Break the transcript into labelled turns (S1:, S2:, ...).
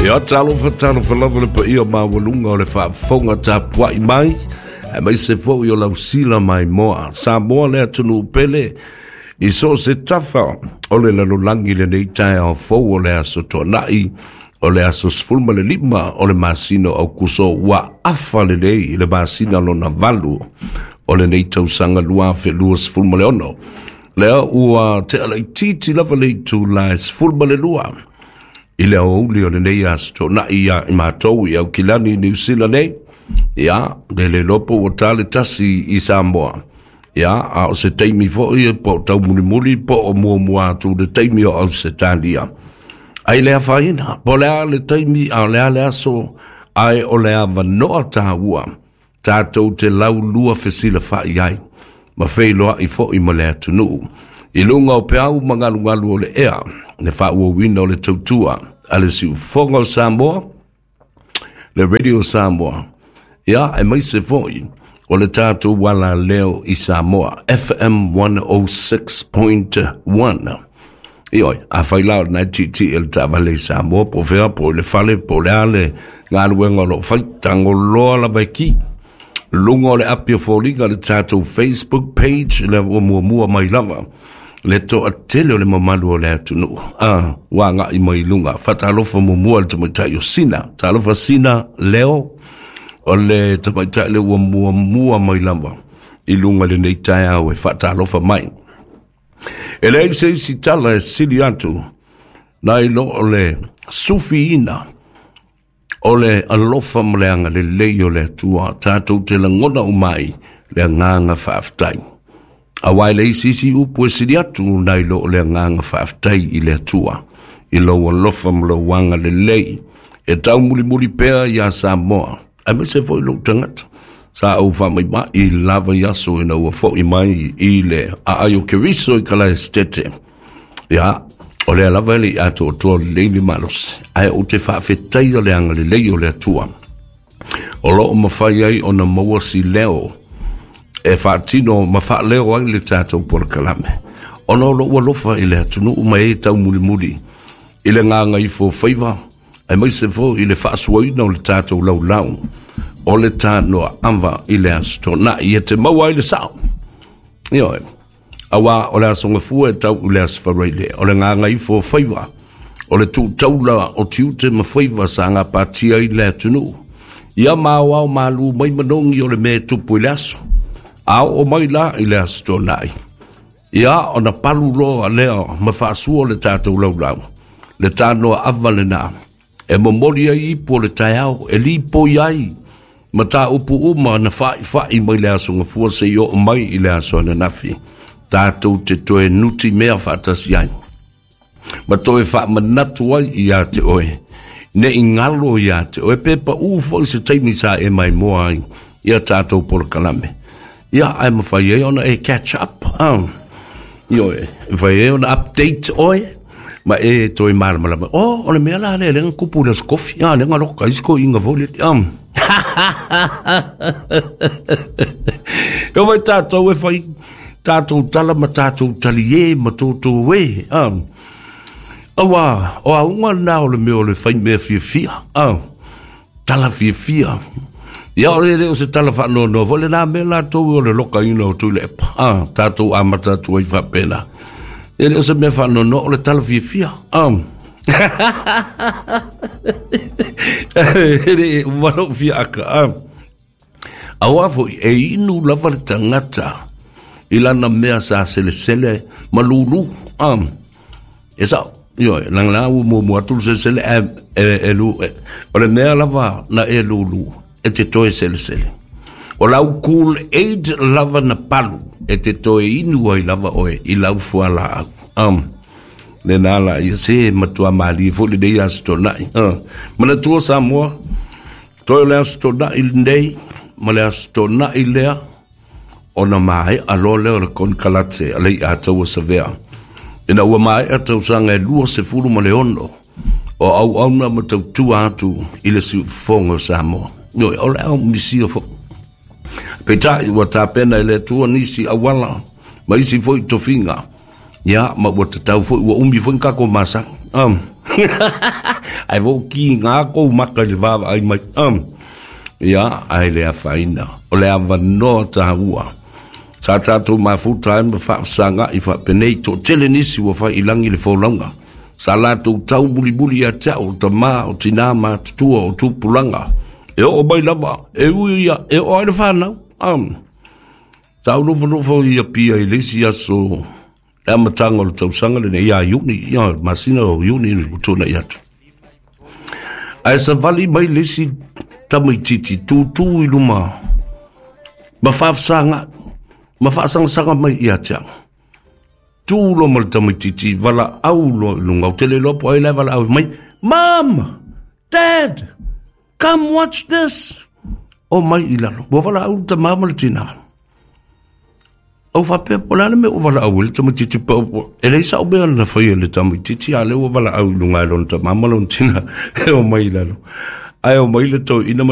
S1: Ia, talofa, talofa lava le paia maualuga o le faafofoga tapuai mai, aemaise foi o lausila maimoa. Samoa le atunuu pele, i so o se tafa o le lalolagi i lenei taeao fou o le Aso Toonai, o le aso 15 o le masina o Aokuso, ua afa lelei i le masina lona valu o lenei tausaga 2026. Lea ua tea laitiiti lava le itula e 12 i le aoauli o lenei Aso Toonai ia i matou i Aukilani i Niu Sila nei. Ia, le le iloa po ua ta le 1 i Samoa. Ia, a o se taimi foi po o taumulimuli po o muamua atu le taimi o Ausetalia. Ai le afaina, po o le a le taimi, a o le a le aso, ae o le avanoa taua tatou te laulua fesilafai ai ma feiloai foi ma le atunuu i luga o peau ma galugalu o le ea, le faaauauina o le tautua a le siufofoga o Samoa, le Radio Samoa, ia, aemaise foi o le tatou alaleo i Samoa, FM 106.1. Ioe, afai la o lena e tietie le taavale i Samoa, po o fea, po o le fale, po o le a le galuega o lo o fai, tagoloa lava e ki. Luga o le api o foliga le tatou Facebook page, lea ua muamua mai lava le toatele o le mamalu o le atunuu a ua agai mai i luga. Faatalofa muamua le tamaitai o Sina. Talofa Sina Leo, o le tamaitai le ua muamua mai lava i luga lenei taeao e faatalofa mai. E leai se isi tala e sili atu nai lo o le sufiina o le alofa ma le agalelei o le Atua, tatou te lagona uma ai le agaga faafetai. Aua e leai se isi upu e sili atu nai lo o le agaga faafetai i le Atua, i lou alofa ma lou agalelei e taumulimuli pea iā Samoa, aemaise foi lou tagata. Sa ou faamaimai lava i aso ina ua foi mai i le aai o Keriso i Kalaesetete. Ia, o lea lava e le i atoatoa lelei le malosi, ae ou te faafetaia le agalelei o le Atua o lo o mafai ai ona maua si leo e faatino ma faaleo ai le tatou polokalame, ona o lou alofa i le atunuu ma e taumulimuli i le gagaifo faiva, aemaise foi i le faasuaina o le tatou laulau o le tanoa ava i le Aso Toonai e te maua ai le sao. Ioe. Aua o le Aso Gafua e tau i le Aso Faraile, o le gagaifo o faiva, o le tūtaula o tiute ma faiva sa gapatia ai le atunuu. Ia ma aoao malū mai manogi o le mea e tupu i le aso. A oo mai la i le Aso Toonai, ia ona palu loa lea ma faasua le tatou laulau, le tanoa ava lena e momoli ai ipu o le taeao, e lipoi ai mataupu uma na fa'ifa'i mai le Aso Gafua seia oo mai i le aso ananafi, tatou te toe nuti mea faatasi ai ma toe faamanatu ai iā te oe, ne i galo iā te oe pe paʻū foi se taimi sa e maimoa ai ia tatou polokalame. Ia, ae mafai ai ona e catch up, ah. Ioe, e mafai ai ona update oe ma e toe malamalama. Oh, o le mea la lea, lea na kupu le aso kofi. Ah, lea na loka isi ko inga foi le. Ah. E vai tātou e whai tātou tala ma tātou tali e ma tōtō e. Ah. Aua, o a unga nā o le mea o le whai mea fiafia. Ah. Tala fiafia. Ia o le le o se tala faanoanoa foi lena mea latou o le lokaina o Tuilaepa. Ah, tatou amata atu ai faapena. E le o se mea faanoanoa, o le tala fiafia. Ah. E le uma lou fiaaka. Ah. Aua foi e inu lava le tagata i lana mea sa selesele ma lulu. Ah. E sao, ioe, langa la ua muamua atu le selesele ae e, e, lu, e, o le mea lava na e lulu e te toe selesele. O lau Kool Aid lava na palu e te toe inu ai lava oe i lau fualaau. Lena la ia se matua malie foi lenei Aso Toonai. Manatua Samoa, toe o le Aso Toonai lenei ma le Aso Toonai lea, ona maea loa lea o le konekarate a Leiataua Savea. Ina ua maea tausaga e 26 o auauna ma tautua atu i le siufofoga o Samoa. Ioe, o le ao misia foi. Peitai ua tapena e le Atua nisi auala ma isi foi tofiga. Ia, ma ua tatau foi, ua umi foi ni tatou masani. Ae ua ou kiga kou maka i le vaavaai mai. Ia, ae le afaina. O le avanoa taua. Sa tatou mafuta ai ma faafesaga'i faapenei, toatele nisi ua fai i lagi le folauga. Sa latou taumulimuli ia te au o tamā, o tinā matutua, o tupulaga. E oo mai lava, e ui ia, e oo ai le fanau. Sa ou nofonofo i Apia i le isi aso le amataga o le tausaga lenei ia Iuni, ia masina o Iuni ua tuanai atu. Ae savali mai le isi tamaitiiti tutū i luma ma faafesaga'i ma faasagasaga mai ia te au. Tu loa ma le tamaitiiti valaau loa i luga, ou te le iloa po o ai la e valaau mai, Mom! Dad! Come watch this! O mai i lalo, ua valaau le tamā ma le tinā. Ou faapea, po o le a le mea ua valaau ai le tamaitiiti pa e leai sa'u mea na faia i le tamaitiiti, a o lea ua valaau i luga e lona tamā ma lona tinā e omai i lalo. Ae omai le toeaina ma